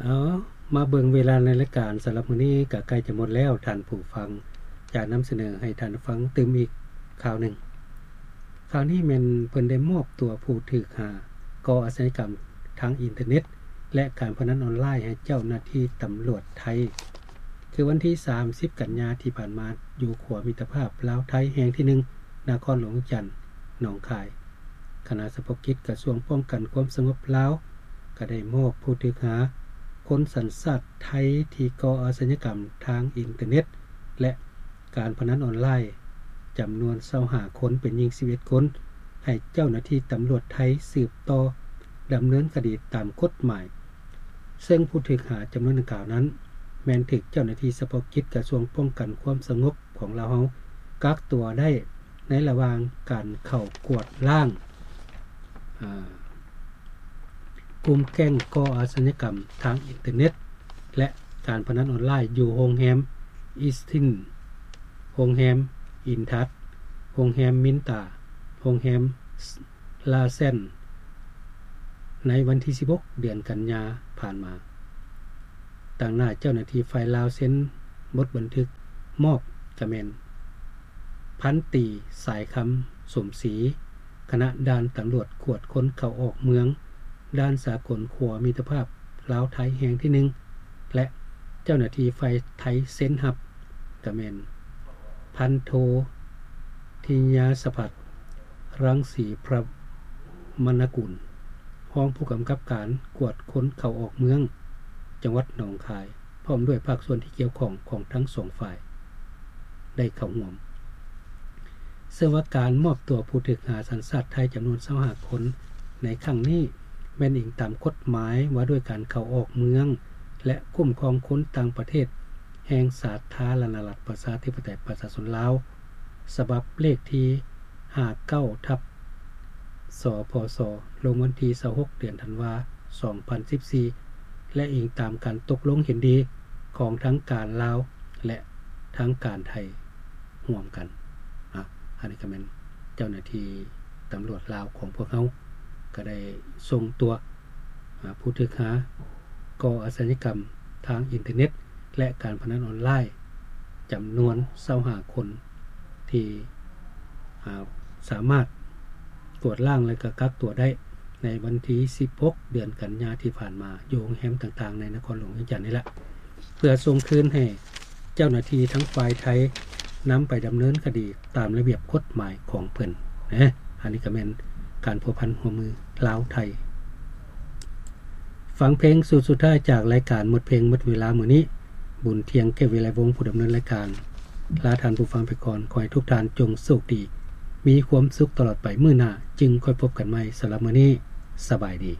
ເອົາ ມາເບິ່ງເວລາໃນລາຍການສຳລັບມື້ນີ້ກໍໃກ້ຈະໝົດແລ້ວ ທ່ານຜູ້ຟັງ ຈະນຳສະເໜີໃຫ້ທ່ານຟັງຕື່ມອີກຂ່າວໜຶ່ງ. ຂ່າວນີ້ແມ່ນເພິ່ນໄດ້ມອບຕົວຜູ້ຖືກຫາກໍ່ອາຊະຍາກຳທາງອິນເຕີເນັດ ແລະ ການພະນັນອອນລາຍໃຫ້ເຈົ້າໜ້າທີ່ຕຳຫຼວດໄທ. ຄືວັນທີສາມສິບກັນຍາທີ່ຜ່ານມາ ຢູ່ຂົວມິດຕະພາບລາວໄທແຫ່ງທີໜຶ່ງ ນະຄອນຫຼວງວຽງຈັນ ໜອງຄາຍ, ຄະນະສະເພາະກິດກະຊວງປ້ອງກັນຄວາມສະຫງົບລາວ ກໍໄດ້ມອບຜູ້ຖືກຫາຄົນສັນຊາດໄທທີ່ກໍ່ອາຊະຍາກຳທາງອິນເຕີເນັດ ແລະ ການພະນັນອອນລາຍ ຈຳນວນຊາວຫ້າຄົນ ເປັນຍິງສິບເອັດຄົນ ໃຫ້ເຈົ້າໜ້າທີ່ຕຳຫຼວດໄທສືບຕໍ່ດຳເນີນຄະດີຕາມກົດໝາຍ. ເຊິ່ງຜູ້ຖືກຫາຈຳນວນດັ່ງກ່າວນັ້ນ ແມ່ນຖືກເຈົ້າໜ້າທີ່ສະເພາະກິດກະຊວງປ້ອງກັນຄວາມສະຫງົບຂອງລາວເຮົາກັກຕົວໄດ້ໃນລະຫວ່າງການເຂົ້າກວດລ້າງ ອາ ກຸ່ມແກ້ງກໍ່ອາຊະຍາກຳທາງອິນເຕີເນັດ ແລະ ການພະນັນອອນລາຍຢູ່ໂຮງແຮມອິສຕິນ, ໂຮງແຮມອິນທັດ, ໂຮງແຮມມິນຕາ, ໂຮງແຮມລາແຊນ ໃນວັນທີສິບຫົກ ເດືອນກັນຍາຜ່ານມາ. ຕາງໜ້າເຈົ້າໜ້າທີ່ຝ່າຍລາວເຊັນບົດບັນທຶກມອບກະແມ່ນ ພັນຕີ ສາຍຄຳ ສົມສີ, ຄະນະດ່ານຕຳຫຼວດກວດຄົນເຂົ້າອອກເມືອງ ດ່ານສາກົນຂົວມິດຕະພາບລາວໄທແຫ່ງທີໜຶ່ງ ແລະ ເຈົ້າໜ້າທີ່ຝ່າຍໄທເຊັນຮັບກະແມ່ນ ພັນໂທ ທິຍາສະພັດ ລັງສີພະມະນະກຸນ ຮອງຜູ້ກຳກັບການກວດຄົນເຂົ້າອອກເມືອງ ຈັງຫວັດໜອງຄາຍ ພ້ອມດ້ວຍພາກສ່ວນທີ່ກ່ຽວຂ້ອງຂອງທັງສອງຝ່າຍໄດ້ເຂົ້າຮ່ວມ. ເຊິ່ງວ່າການມອບຕົວຜູ້ຖືກຫາສັນຊາດໄທຈຳນວນຊາວຫ້າຄົນໃນຄັ້ງນີ້ ແມ່ນອີງຕາມກົດໝາຍວ່າດ້ວຍການເຂົ້າອອກເມືອງ ແລະ ຄຸ້ມຄອງຄົນຕ່າງປະເທດ ແຫ່ງສາທາລະນະລັດ ປະຊາທິປະໄຕ ປະຊາຊົນລາວ ສະບັບເລກທີຫ້າເກົ້າ ທັບ ສພສ ລົງວັນທີຊາວຫົກ ເດືອນທັນວາ ສອງພັນສິບສີ່ ແລະ ອີງຕາມການຕົກລົງເຫັນດີຂອງທາງການລາວ ແລະ ທາງການໄທຮ່ວມກັນ. ອາ ອັນນີ້ກໍແມ່ນເຈົ້າໜ້າທີ່ຕຳຫຼວດລາວຂອງພວກເຮົາ ກໍໄດ້ສົ່ງຕົວ ອາ ຜູ້ຖືກຫາກໍ່ອາຊະຍາກຳທາງອິນເຕີເນັດ ແລະ ການພະນັນອອນລາຍ ຈຳນວນຊາວຫ້າຄົນ ທີ່ ອາ ສາມາດກວດລ້າງ ແລະ ກໍກັກຕົວໄດ້ໃນວັນທີສິບຫົກ ເດືອນກັນຍາທີ່ຜ່ານມາ ຢູ່ໂຮງແຮມຕ່າງໆໃນນະຄອນຫຼວງວຽງຈັນນີ້ລະ ເພື່ອສົ່ງຄືນໃຫ້ເຈົ້າໜ້າທີ່ທາງຝ່າຍໄທ ນຳໄປດຳເນີນຄະດີຕາມລະບຽບກົດໝາຍຂອງເພິ່ນ. ອັນນີ້ກໍແມ່ນການພົວພັນຮ່ວມມືລາວໄທ. ຟັງເພງຊຸດສຸດທ້າຍຈາກລາຍການໝົດເພງໝົດເວລາມື້ນີ້. ບຸນທ່ຽງ ເກດວິໄລວົງ ຜູ້ດຳເນີນລາຍການ ລາທ່ານຜູ້ຟັງໄປກ່ອນ. ຂໍໃຫ້ທຸກທ່ານຈົ່ງໂຊກດີ, ມີຄວາມສຸກຕະຫຼອດໄປ. ມື້ໜ້າຈຶ່ງຄ່ອຍພົບກັນໃໝ່. ສຳລັບມື້ນີ້ ສະບາຍດີ.